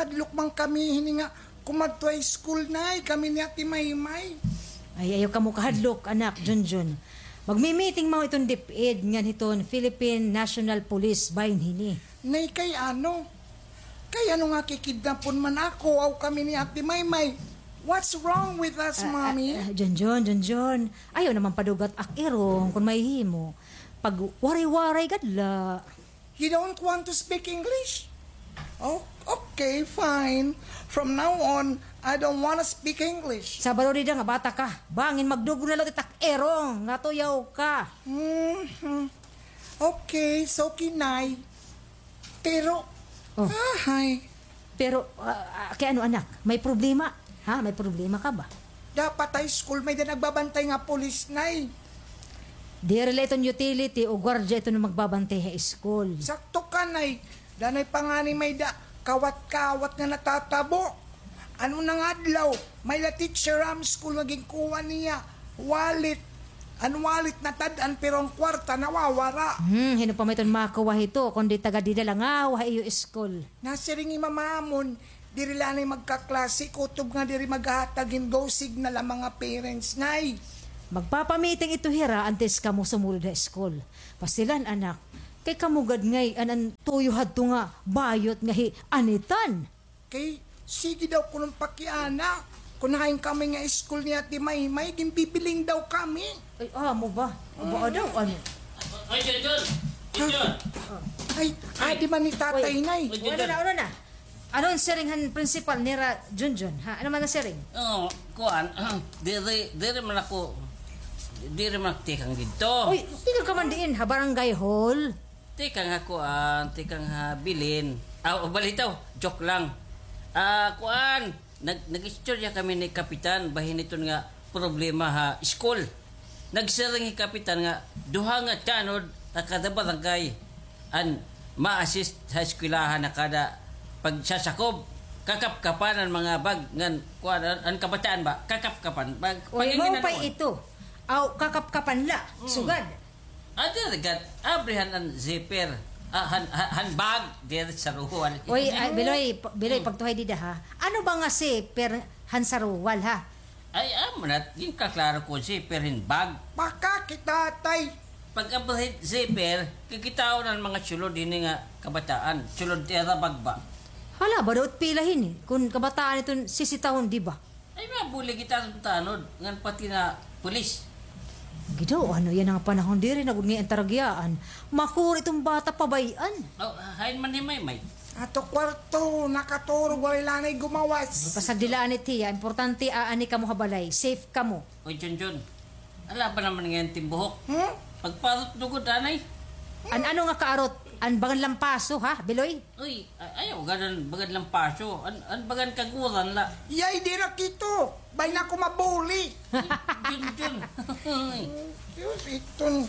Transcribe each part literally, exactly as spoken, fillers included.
Hadlok man kami hini nga kumadto ha school, Nay, kami ni Ate Maymay. Ay, ayaw kamo kahadlok, anak, Junjun. Magmi-meeting man iton DepEd ngan hiton Philippine National Police bahin hini. Nay, kay ano? Kay ano nga kikidnapon man ako, aw kami ni Ate Maymay? What's wrong with us, Mommy? Ah, Junjun, Junjun. Ayaw naman padugat ak-irong kon mahihimo. Pagwaray-waray gad la. You don't want to speak English? Oh, okay, fine. From now on, I don't wanna speak English. Sabado dida nga bata ka. Bangin magdugong na la it ak-irong nga tuyaw ka. Mhm. Okay, so kinay. Pero, Oh. Ahay. Pero, ah, ah, kay ano, anak? May problema? Ha? May problema ka ba? Dapat ha school may-da nagbabantay nga pulis, Nay. Diri la iton utility o gwardiya iton magbabantay ha school. Sakto ka, Nay. Danay pa ngani may-da kawat-kawat nga natatabo. Ano na nga adlaw, may-da teacher ha amon school nga ginkuha niya wallet. An wallet natad-an, pero an kwarta nawawara. Hmm, hin-o pa may iton makuha hito, kundi taga dida la ngahaw ha iyo school. Nasiring hi mama amon, diri la anay magkaklase, kutob nga diri maghahatag hin go signal an mga parents, Nay. Magpapa-meeting ito hira antes kamo sumulod ha school. Pastilan, anak, kay kamo gad ngay-an an tuyo hadto nga bayot nga hi Anitan. Kay, sige daw kuno pakiana. Kon hain kami nga school ni Ate Maymay, ginbibiling daw kami. Ay, amo ba? Aba, daw, ano? Ay, Junjun! Junjun! Ay, adi man ni Tatay, Nay. Uy, ano na, ano na? Ano an siring han principal nira, Junjun? Ha? Ano man an siring? Oh, kuan, diri, diri man ako, diri man ako tikang didto. Uy, tikang ka man diin, ha barangay hall? Tikang ha kuan, tikang ha bilin. Ah, balitaw, joke lang. Ah, kuan, nag-, nag-istorya kami ni Kapitan, bahin iton nga problema ha school. Nagsiring hi Kapitan nga duha nga tanod ha kada barangay an ma-assist ha eskwelahan ha kada pagsasakob. Kakapkapan an mga bag ngan kuan, an, an kabataan ba? Kakapkapan. Pag, pag mao pa ito. Aw, kakapkapan la. Mm. Sugad. Ah, diri gad, abrihan an zipper. Ah, han, han, han bag, diri saruwal. Uy, ah, Biloy, pa-, Biloy, pagtuhay dida, ha? Ano ba nga zipper han saruwal, ha? Ay, amo na, ginkaklaro ko, zipper hin bag. Pakakita, tay. Pag-abri hin zipper, kikitaon an mga sulod hini nga kabataan, sulod tira bag ba? Hala, ba daw it pila hini? Kon kabataan iton sisitahon, di ba? Ay, mabuli kita sa tanod, ngan pati na pulis. Gidaw, ano yana nga panahon, diri na gud ngay-an taragyaan. Makuri iton bata, pabay-an. Oh, hain man hi Maymay? Ato kwarto, nakaturog, waray la anay gumawas. Pasagdi la anay, tiya. Importante, aani kamo ha balay. Safe kamo. Oy, Junjun. Ala ba naman ngay-an it im buhok? Hmm? Pagparot lugod, anay. An ano nga kaarot? An bangan lampaso, ha, Biloy? Uy, a-, ayaw gad an bagad lampaso. An, an bagan kaguran la. Yay, diri kito. Bay na ako mabuli. Junjun. Diyos, iton.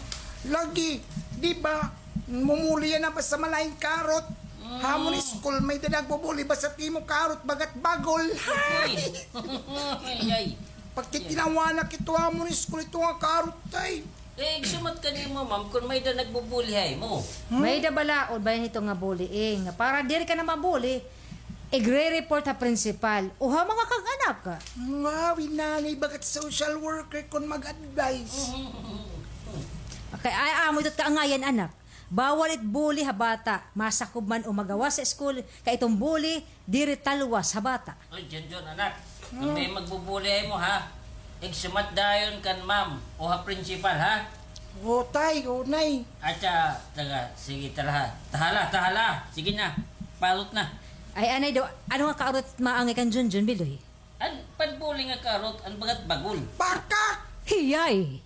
Lagi, di ba, mumuli yana basta malain karot. Mm. Ha amon school, may-da nagbubuli, basta it imo karot, bagat bagol. Uy. Ay, ay. Pagtitinawanak ito ha amon school, ito nga karot, tay. Eh, igsumat ka nimo, ma'am, kon may-da nagbubuli ha imo. Hmm? May-da balaod ba hito nga bullying? Para diri ka na mabuli, igre-report ha principal o ha mga kag-anak. Ngawi nanay, bagat social worker kon mag-advise. Okay, ay, amo ito it kaangayan, anak. Bawal it bully ha bata, masakob man o magawas ha school, kay iton bully, diri talwas ha bata. Oy, Junjun, anak. Kon may magbubuli ha imo, ha? Igsumat dayon kan ma'am o ha principal, ha? O, tay, o, nay. Atsa, taga, sige, tara, ha. Tahala, tahala. Sige na. Parot na. Ay, anay daw, ano nga kaarot maangay kan Junjun, Biloy? An panbuli nga kaarot, an bagat bagol. Baka! Hiyay!